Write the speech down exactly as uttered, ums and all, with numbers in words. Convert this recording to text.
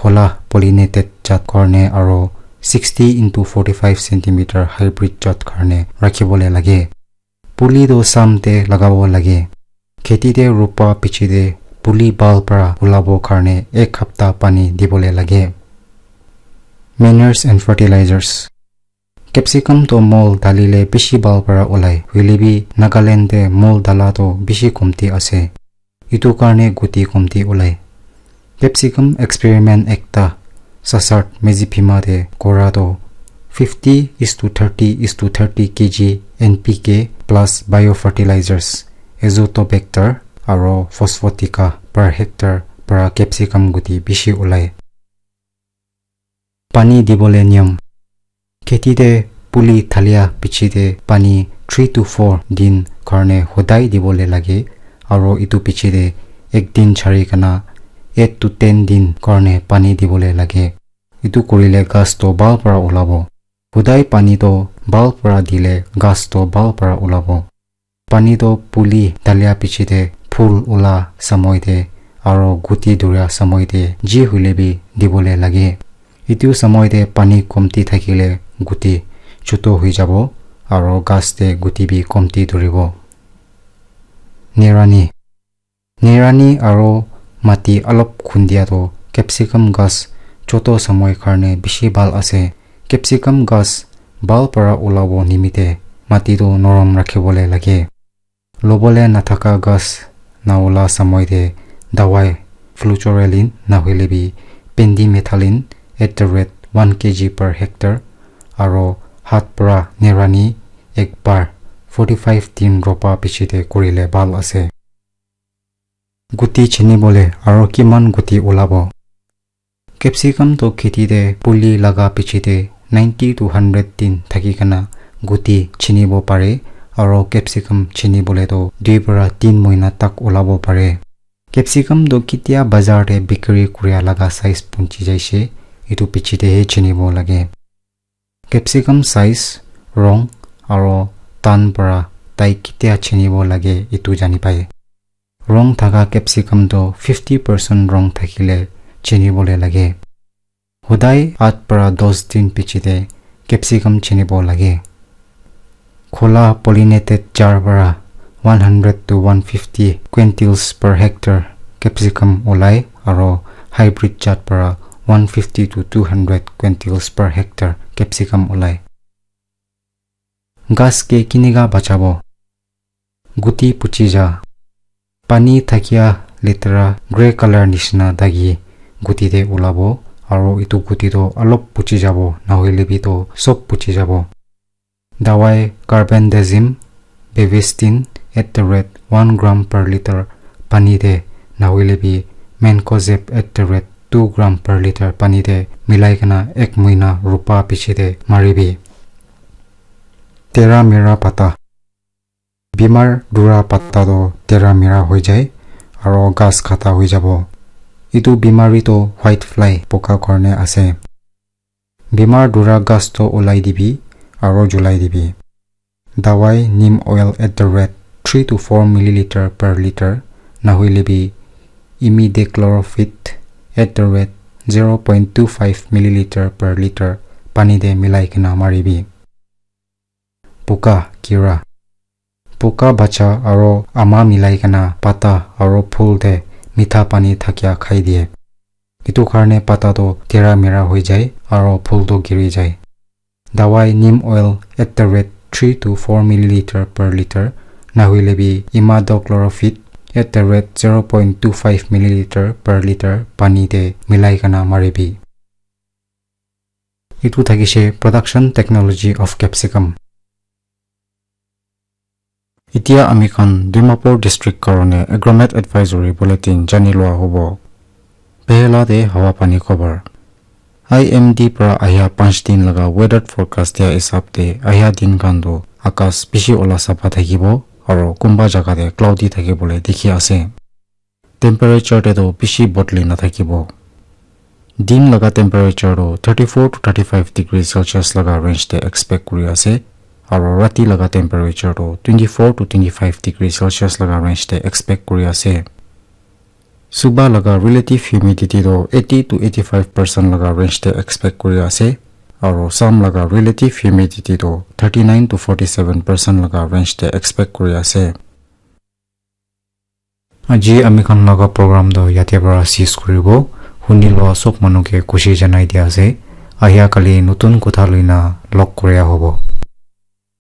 Kola pollinated jat karne aro sixty into forty-five centimeter hybrid jat karne rakhibole lage. Puli toh sam te lagabo lage. Kheti te ropa piche te puli bhal para ulabo karne ek hapta pani dibole lage. Manners and fertilizers. Capsicum toh mol dalile bishi bhal para ulai, hoile bi Nagaland te mol dala toh bishi komti ase. Itu karne guti komti ulai. Capsicum experiment ekta Sassart Medziphema te kora toh fifty is to thirty is to thirty K G N P K plus biofertilizers, Azotobacter aro Phosphotica per hectare para capsicum guti bishi ulai. Pani dibole niyom. Kheti te puli thalia piche te pani three to four din karne hodai dibole lage, aro itu piche te ek din chari kana eight to ten din karne pani dibole lage. Itu kurile ghas toh bhal para ulabo. Hodai pani toh bhal para dile ghas toh bhal para ulabo. Pani toh puli dalia piche te, phul ula samoi te, aro guti dhuria samoi te ji hoile bi dibole lage. Itu samoi te pani komti thakile guti chutu hoi jabo, aro ghas te guti bi komti dhuribo. Nirani. Nirani aro mati alop khundia toh capsicum ghas chutu samoi karne bishi bhal ase. Capsicum ghas bhal para ulabo nimite mati toh norom rakhibole lage. Lobole nathaka ghas naula samoi te dawai flucloxacin nahoile bi pendimethalin at the rate one K G per hectare aro hat para nirani ek bar forty-five din ropa piche te kurile bhal ase. Guti chinibole aro kiman guti ulabo. Capsicum toh kheti te puli laga piche te ninety to hundred din thaki kana guti chinibo pare, aro capsicum chinibole toh dui para tin moina tak ulabo pare. Capsicum toh ketia bazar te bikri kuria laga size punchi jaise, itu piche te he chinibo lage. Capsicum size, rong, aro tan para tai ketia chinibo lage itu jani pai. Rong thaka capsicum toh fifty percent rong thakile chinibole lage. Hodai at para dos din piche te capsicum chinibo lage. Khola pollinated jar para one hundred to one fifty quintals per hectare capsicum ulai aro hybrid jat para one fifty to two hundred quintals per hectare capsicum ulai. Ghas ke kinika bachabo? Guti puchi ja. Pani thakia letera grey color nishina dagi guti te ulabo, aro itu guti toh alop puchi jabo, nahoile bi toh sob puchi jabo. Dawai carbendazim, bevestin at the rate one gram per liter pani te, nahoile bi mancozeb at the rate two gram per liter pani te milai kena ek muina rupa piche te maribi. Tera mera pata. Bimar dura pata toh tera mera hoi jai aro ghas khata hoi jabo. Itu bimari toh white fly poka karne ase. Bimar dura ghas toh ulai dibi aro julai dibi. Dawai neem oil at the rate three to four milliliter per liter, nahoile bi imidacloprid at the rate zero point two five milliliter per liter pani te milai kena maribi. Puka, kira. Puka bacha aro ama milai kena pata aro phul te mitha pani thakia khai diye. Itu karne pata toh tera mera hoi jai aro phul toh giri jai. Dawai neem oil at the rate three to four milliliter per liter, nahoile bi imidacloprid at the rate zero point two five milliliter per liter pani te milai kena maribi. Itu thakishe production technology of capsicum. Itia ami khan Dimapur district karone agromet advisory bulletin jani lua hobo. Pehla te hawa pani khobor. I M D pra ahia panch din laga weather forecast dia hisab te ahia din khan toh akas bishi ola sapha thakibo aro kunba jaga te cloudy thakibole dikhi ase. Temperature te toh bishi bodli nathakibo. Din laga temperature toh thirty-four to thirty-five degree Celsius laga range te expect kuri ase, aro rati laga temperature toh twenty-four to twenty-five degree Celsius laga range te expect kuri ase. Suba laga relative humidity toh eighty to eighty-five percent laga range te expect kuri ase, aro Assam laga relative humidity toh thirty-nine to forty-seven percent laga range te expect kuri ase. Aji ami khan laga program toh yate para cease kuribo. Huni loa sob manu ke khushi janai dia ase. Ahia kali notun kotha loina log koria hobo.